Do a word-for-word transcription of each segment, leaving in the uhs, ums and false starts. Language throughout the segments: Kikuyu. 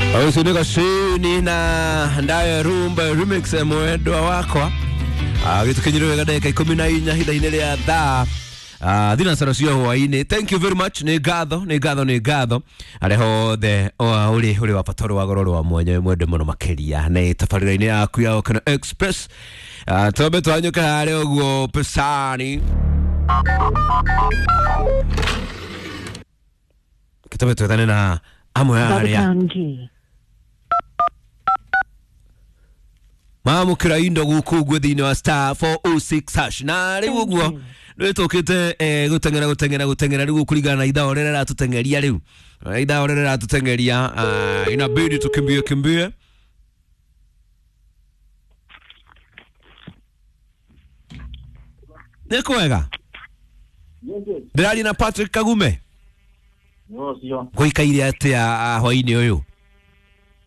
Ucio nĩ gacini na ndayo rumba remix mwendwa wakwa gĩtũkinyire wega ndagĩka ikũmi na inya ihinda-inĩ rĩa thaa Uh, thinacara cia hwainĩ. Thank you very much, nĩ ngatho, nĩ ngatho, nĩ ngatho arĩa hothe ũrĩ ũrĩ wa bata, ũrĩ wa goro, ũrĩ wa mwanya, mwende mũno makĩria nĩ tabarĩra-inĩ yaku ya Okeno Express. uh, twambe twanyũke harĩa ũguo pesani kĩtũme twethane na amwe arĩa Babatangi. mamũkĩra indo gũkũ ũguo thĩinĩ wa star four oh six hash. Na rĩu ũguo nĩtũkĩte eh, gũteng'era gũteng'era gũteng'era rĩu kũringana na ithaa ũrĩa rĩratũteng'eria rĩu. Eh, ithaa ũrĩa rĩratũteng'eria, uh, inabidi tukimbie kimbie. Nĩ kwega, ndĩraria na Patrick Kagume. Ũcio. Gũikaire atĩa ah, hwainĩ ũyũ?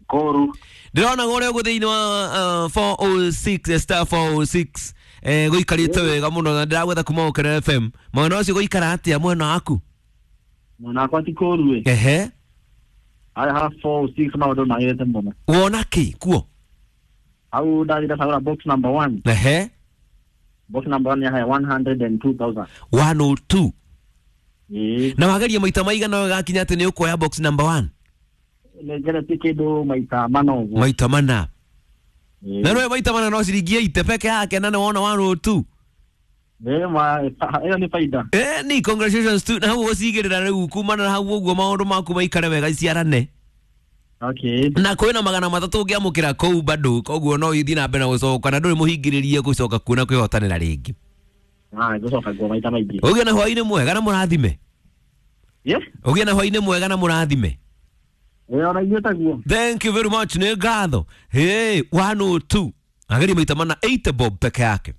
Koru. Ndĩrona ũrĩa ũguo thĩinĩ wa uh, four oh six, star four oh six, eh, gũikarĩte wega mũno na ndĩragwetha kuma Ũkena F M. Mwena ũcio gũikara atĩa mwena waku? Mwena wakwa ti kũru ĩ. Ehe. Harĩa ha four six maũndũ magĩrĩte mũno. Wona kĩ kuo? Hau ndathire kagũra box number one. Ehe. Box number one yahe one hundred and two thousand. one oh two? Ĩĩ. Na wageria maita maigana gakinya atĩ nĩ ũkuoya box number one? Nĩngeretie kĩndũ maita mana ũguo. Maita mana? Ĩĩ. Na nĩwe maita mana no ciringi eighty peke yake na nĩ wona one oh two. Ĩĩ, ma ĩyo nĩ baida. Eh, ni congratulations tu na hau ũgũcigĩrĩra rĩu kumana na hau ũguo maũndũ maku maikare wega ciarane. Okay. Na kwĩna magana matatũ ũngĩamũkĩra kũu bado, koguo no ithiĩ na mbere na gũcoka na ndũrĩ mũhingĩrĩrie gũcoka kuona kwĩhotanĩra rĩngĩ. Ah, ngũcoka nguo maita maingĩ. Ũgĩe na hwainĩ mwega na mũrathime. Yes. Ũgĩe na hwainĩ mwega na mũrathime. Ĩĩ, ona ithuĩ taguo. Thank you very much, nĩ ngatho. Hey, one oh two ageria maita mana, eighty bob peke yake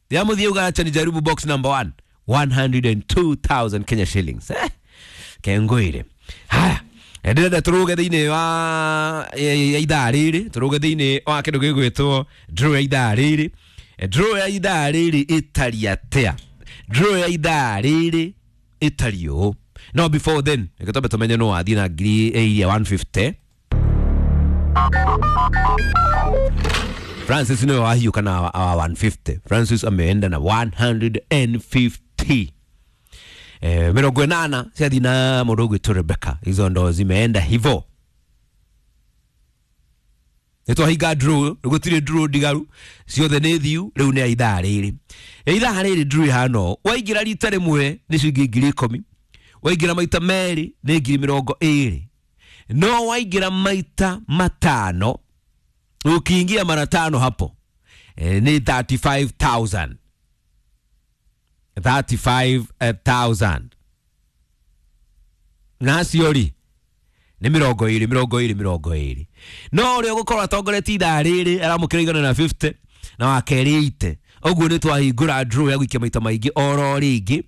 yamũthiĩ uga acha nijaribu box number one, one hundred two thousand Kenya shillings. Eh, kengwire haya, ndĩrenda tũrũge thĩinĩ wa ya ya ithaa rĩrĩ, tũrũge thĩinĩ wa kĩndũ gĩgwĩtwo draw ya ithaa rĩrĩ. Eh, draw ya ithaa rĩrĩ ĩtariĩ atĩa? Draw ya ithaa rĩrĩ ĩtariĩ ũũ, no before then reke twambe tũmenye no wathiĩ na ngiri iria one fifty. Francis niwe wahiũka na wa wa one fifty. Francis ameenda na one hundred fifty. Eh, mĩrongo ĩnana ciathiĩ na mũndũ ũgwĩtwo Rebecca. Hizo ndo zimeenda hivo. Nĩ twahinga draw, gũtirĩ draw ndigaru, ciothe nĩ thiu. Rĩu nĩ ya ithaa rĩrĩ. Ya ithaa rĩrĩ draw ĩhana ũũ: waingĩra rita rĩmwe nĩ ciringi ngiri ikũmi, waingĩra maita merĩ nĩ ngiri mĩrongo ĩrĩ, no waingĩra maita matano, ukiingia mara tano hapo, e, ni thirty-five thousand, thirty-five thousand. Nacio rĩ nĩ mĩrongo ĩrĩ, mĩrongo ĩrĩ, mĩrongo ĩrĩ. No ũrĩa ũgũkorwo atongoretie ithaa rĩrĩ aramũkĩra igana na fifty na wa kerĩ eighty. Ũguo nĩ twahingũra draw ya gũikia maita maingĩ oro rĩngĩ,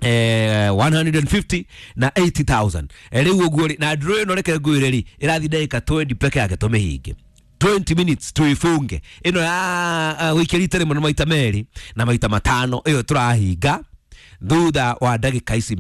eh, one hundred fifty na eighty thousand. Eh, rĩu ũguo rĩ, na draw ĩno reke ngwĩre rĩ, ĩrathiĩ ndagĩka twenty peke yake tũmĩhinge, twenty minutes tuifunge ĩno ya uh, gũikia rita rĩmwe na maita merĩ na maita matano. Ĩyo tũrahinga thutha wa ndagĩka ici.